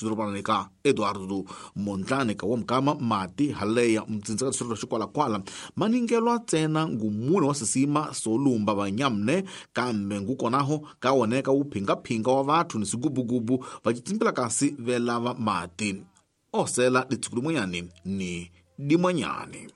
Xidorobanani ka Eduardo Mondlane ka wamkama mati haleya mtsinza ka distrito xikwalakwala maningelwa ntsena ngumune wa sisima solumba vanyamne kambe ngukonaho ka woneka wu phingaphinga wa vathu ni swigubugubu va citsimbila kasi velava mati osela ditshuku limwenyani ni dimwanyani.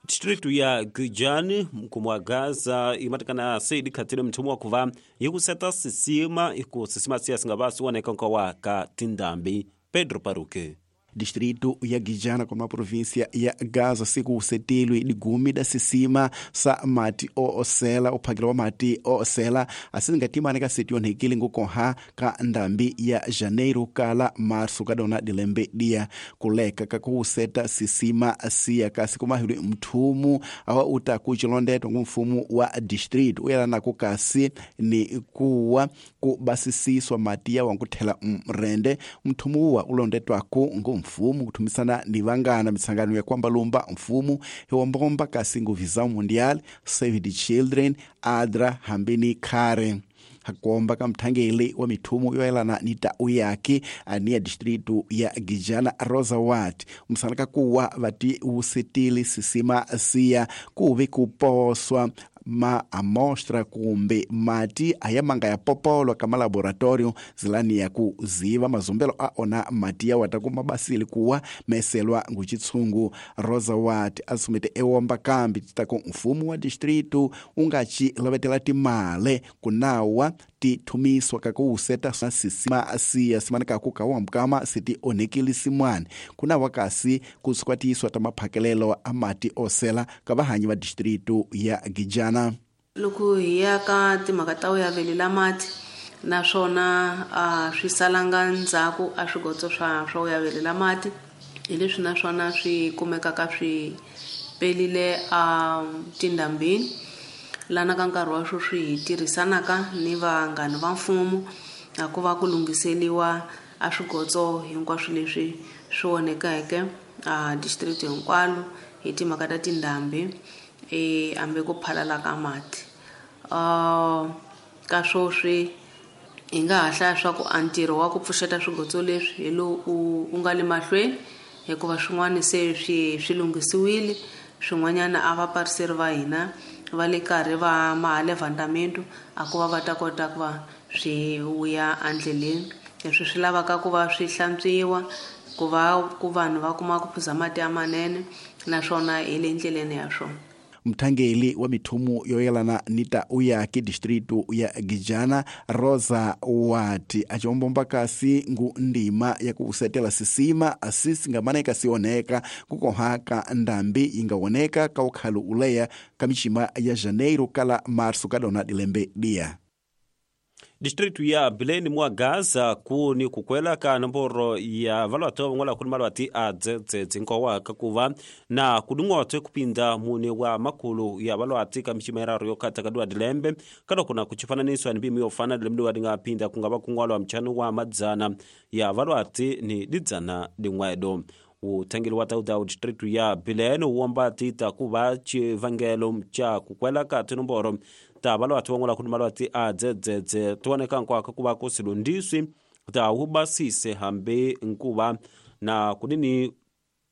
Distritu ya Gujani mkumu wa Gaza imatikana seidi khatile mthumu wa kuva yikuseta sisima iku sisima siya singava siwoneka nkowa ka tindambi. Pedro Paruque. Distrito ya Guijana como a província ya Gaza siku usetilwe ligumi da sisima sa mati oosela uphakelo wa mati oosela asingatimane ka setionhekile ngukoha ka ndambi ya janeiro kala março kadona dilembe dia kuleka kakuuseta sisima siya kasi kumahilwe mthumu awa uta kuchilondetwa ngumfumu wa distrito uyelanako kasi ni kuwa kubasisiswa mati ya wankuthela mrende mthumu uwa ulondetwako ngumfumu kuthumisana ni vangana mitsangano ya kwambalumba mfumu hiwombomba kasi nguvisão mundial, Save the Children, ADRA hambini khare hakomba ka mthangeli wa mithumu yoyelana ni tau yake ani ya distrito ya Gijana Rosa Watt msana kakuwa vati usetile sisima siya kuve kuposwa ma amostra kumbe mati ayamanga ya popolwa kama laboratorio zilani ya kuziva mazumbelo aona mati ya wata kumabasili kuwa meselwa nguchitsungu. Rosa Watt asumete ewomba kambi titako mfumo wa distrito ungachi lovetela timale kunawa tithumiswa kakuuseta sisima siya simana kakukawa siti onekile simwane kunawa kasi kusikwatiswa tamaphakelelo amati osela kavahanyi va distrito ya Gijana. Loko hi ya ka timhaka ta u yavelela mati naswona swi salanga ndzhaku a swigotso swa u yavelela mati hi leswi naswona swi kumekaka swi pelile a tindambini lana ka nkarhi wa sweswi hi tirhisanaka ni vanghana va mfumo a ku va ku lunghiseliwa a swigotso hinkwaswo leswi swi onhekeke a district hinkwalo hi timhaka ta tindhambi ambe ku phalala ka mati. Ka sweswi hi nga ha hlaya swa ku a ntirho wa ku pfuxeta swigotso leswi hi lowu u nga le mahlweni hikuva swin'wana se swi lunghisiwile, swin'wanyana a vapariseri va hina va le karhi va mahalevhandamento a ku va va ta kota ku va swi vuya endleleni. Leswi swi lavaka ku va swi hlantswiwa ku va ku vanhu va kuma ku phuza mati ya manene naswona hi le ndleleni ya swona. Mthangeli wa mithumu yoyelana ni tau yake distrito ya Gijana Rosa Watt achombomba kasi ngu ndima ya kusetela sisima asisi ngamaneka sioneka kukohaka ndambi ingawoneka kaukhalu uleya kamichima ya janeiro kala março kadona dilembe dia. Distritu ya Bileni mwa Gaza kuni kukwela ka nomboro ya valwati van'wana kuni malwati a dzedzedze nkowa kakuva na kudung'ote kupinda mune wa makulu ya valwati ka michima iraru yokhata kaduwa dilembe kaloko na kuchifananiswa ni mbimu yofana dilembe wa dingapinda kungava kung'walwa mchanu wa madzana ya valwati ni didzana ding'wedo. Uthangeli wa tauta distritu ya Bileni uwomba tita kuva chivangelo cha kukwela ka tinomboro ta valwati van'wana kuni malwati a dzedzedze tioneka nkwaka kuva kusilundiswi ta hubasise hambi nkuva na kudini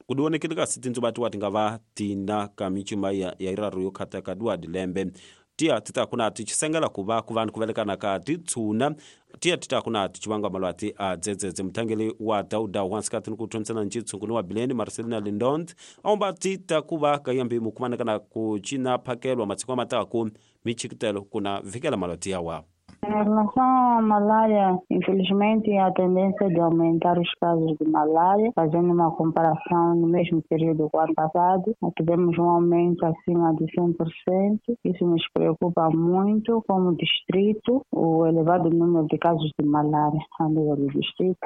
kudionekele kasi tindzuva tiwa tingava tina ka michima ya iraru yokhata kaduwa dilembe tiya tita kuna tichisengela kuva kuvanhu kuvelekana ka titshuna tiya tita kuna tichivanga malwati a dzedzedze. Muthangeli wa dauda wansikati ni kuthonisana ncitshungu ni wa Bileni Marcelina Lindont aomba tita kuva kayambi mukumanekana kucina phakelwa matsiku amataku michikitelo kuna vikela malwati yawa. Em relação à malária, infelizmente a tendência de aumentar os casos de malária, fazendo uma comparação no mesmo período do ano passado, nós tivemos um aumento acima de 100%. Isso nos preocupa muito como distrito, o elevado número de casos de malária a nível do distrito.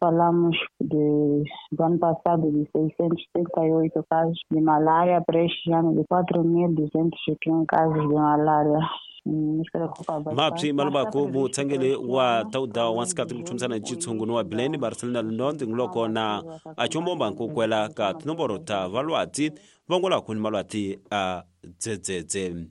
Falamos do ano passado de 638 casos de malária para este ano de 4.201 casos de malária. Mapsi malubaku muthangeli wa tauda wansikati kuthumisana ncitshungu ni wa Bileni Marcelina Lindont nguloko na achombomba nkukwela ka tinomboro ta valwati van'wana kuni malwati a dzedzedze.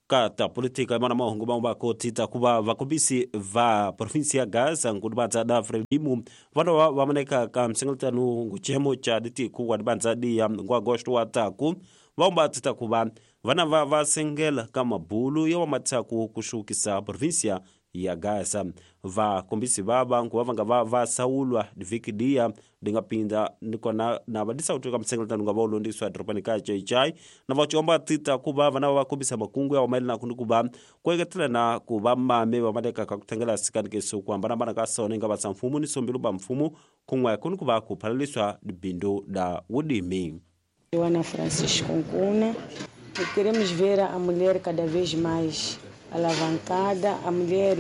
Ka ta politika mana mahungu mamwe vakotita kuva vakombisi va provinsi ya Gaza ngudibandza da Frelimo vanova vamaneka ka msengeletano nguchemo cha ditiku wa dibandza diya ngwa agosto wa taku vaumbatita kuva vana va vasengela ka mabulu ya wamatsaku kuxukisa provinsia ya Gaza. Vakombisi vava nguva vanga va vasaulwa divhiki diya dingapinda nikona na vadisauti ka msengeletano nga vaulondiswa dorobani ka Chaichai na vachiomba tita kuva vana va kombisa makungu ya wamayelana ni kuva kueketela na kuva mame vamaleka ka kuthengela sikanikiso ku hambanahambana ka sona inga vatsa mfumo ni sombilu ba mfumo kun'we kuni kuva ku phalaliswa bindu da wudimi. Joana Francisco Nkuna. Queremos ver a mulher cada vez mais alavancada, a mulher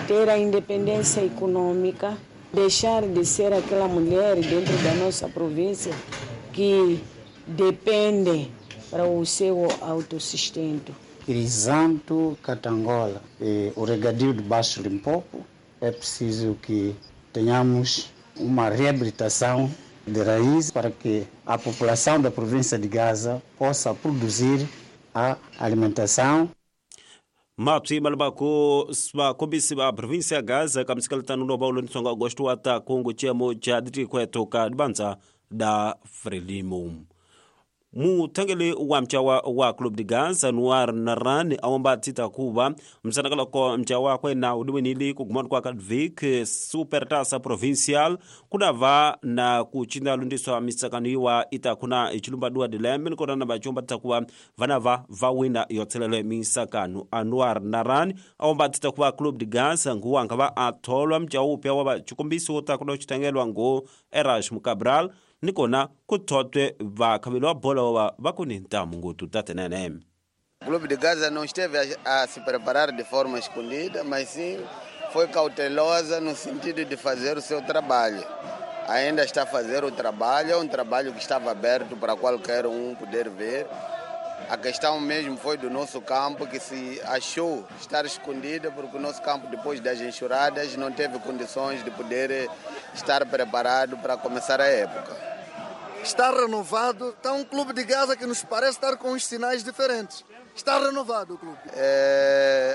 ter a independência econômica, deixar de ser aquela mulher dentro da nossa província que depende para o seu autossustento. Crisanto Catangola, o regadio de Baixo Limpopo, é preciso que tenhamos uma reabilitação de raiz para que a população da província de Gaza possa produzir a alimentação. Mapsi malbako vakombisi va provinsi ya Gaza ka misikelitano lowu va wu lonisonga agosto wa ta kungu chiemo cha ditikweto ka dibandza da Frelimo. Muthengeli wa mchawa wa Club de Gaza Noir Narani awomba tita kuva msanakaloko mchawa wakwe na udiwenili kugumana kwa Kadvik Supertasa Provincial kunava na kuchinda lundiswa misakano iwa ita kuna ichilumba dua dilembe nikona na vachomba tita kuva vanava vawina yotselele misakano. Anwar Narani awomba tita kuva Club de Gaza nguwa ngava atholwa mchawa upya wa vachikombisi wota kuna uchitengelwa ngu Erasmus Cabral nikona kuthotwe vakhaveli wa bola wa vakuni ntamu ngutu tatenene. O Clube de Gaza não esteve a se preparar de forma escondida, mas sim foi cautelosa no sentido de fazer o seu trabalho. Ainda está a fazer o trabalho, é um trabalho que estava aberto para qualquer um poder ver. A questão mesmo foi do nosso campo, que se achou estar escondido, porque o nosso campo, depois das enxurradas, não teve condições de poder estar preparado para começar a época. Está renovado, está um clube de Gaza que nos parece estar com uns sinais diferentes. Está renovado o clube.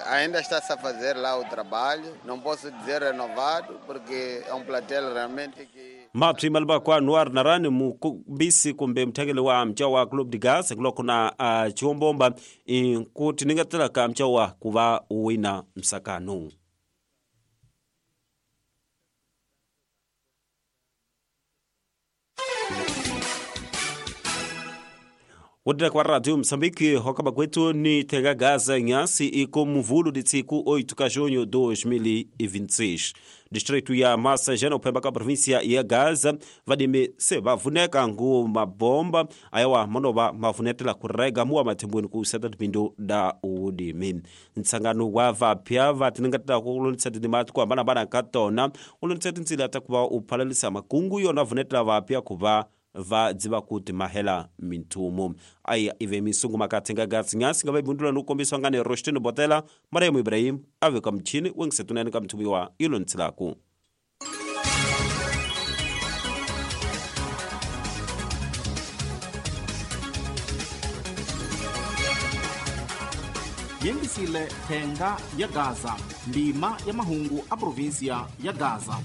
Ainda está-se a fazer lá o trabalho, não posso dizer renovado, porque é um plantel realmente que... Mapsi malbakwa Noir Narani mukombisi kumbe mthengeli wa mchawa Club de Gaza kuloko na chiombomba nkuti ningatela ka mchawa kuva uwina msakano. Wodira kwa Radio Msambiki hokaba kwetu ni tega Gaza nyasi iko mvulu ditsiku 8 ka junho 2026. Distrito ya Massajana upemba ka província ya Gaza vadimi se vavuneka ngu mabomba ayawa manova mavunetela kurega muwa mathimbweni ku seta tipindu da udimi. Ntsangano wa vapya vatiningatela kulonisa tindima ku hambanahambana ka tona ulonisa tintsila ta kuva uphalalisa makungu yona vunetela vapya kuva va dziva kuti mahela minthumo. Aya ive misungu makathenga gatsi nyasi nga vaibundula ni kukombiswa ngani Roshtini Botela Mariam Ibrahim ave ka mchini wengisetunani ka mthumo wa ilontsilaku. Yengisile thenga ya Gaza ndima ya mahungu a província ya Gaza.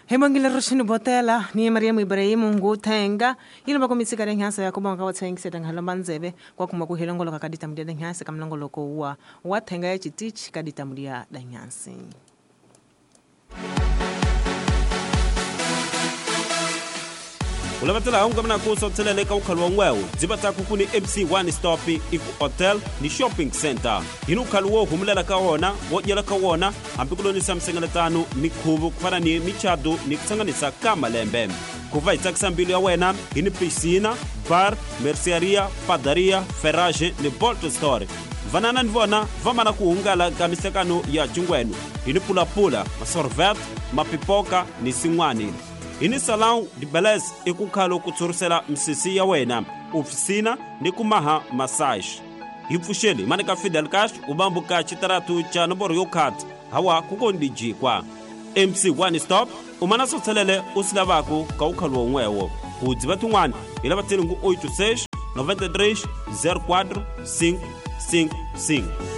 Hemangile Roshini Botela ni Mariam Ibrahim nguthenga yilo bakomitsi ka lenhasa yakoba nga wathengiseta nghalomba ndzeve kwa kuma kuhelongoloka ka ditamu dia danhasi ka mlongoloko wa wathenga ya chitichi ka ditamu dia danhasi. Ulavatela hunga mna kuso tselele ka ukhalo wa ngwewu dzibata kukuni MC1 stop iku hotel ni shopping center hinu ukhalo wo humulela ka wona wo dyela ka wona hambi ku lonisa msengeletano mikhuvu ku fana ni michado ni kutsanganisa ka malembe kuva hi tsakisa mbilu ya wena hi ni piscina bar merceria padaria ferrage ni bolt store vanana ni vona va mana ku hungala ka mihlekano ya cingwenu hi ni pulapula masorvet mapipoka ni sin'wani. Hini salão de beleza e kukhalo kutsurisela misisi ya wena ofisina ni kumaha massage. Hi pfuxeli manika Fidel Castro ubambuka xitaratu cha nomboro yo khata hawa kukondijikwa. Mc One Stop u mana swo tshelele u swi lavaku ka ukhalu won'wewo. Ku dziva tin'wana hi lava tselingu 86 93 04 5 5 5.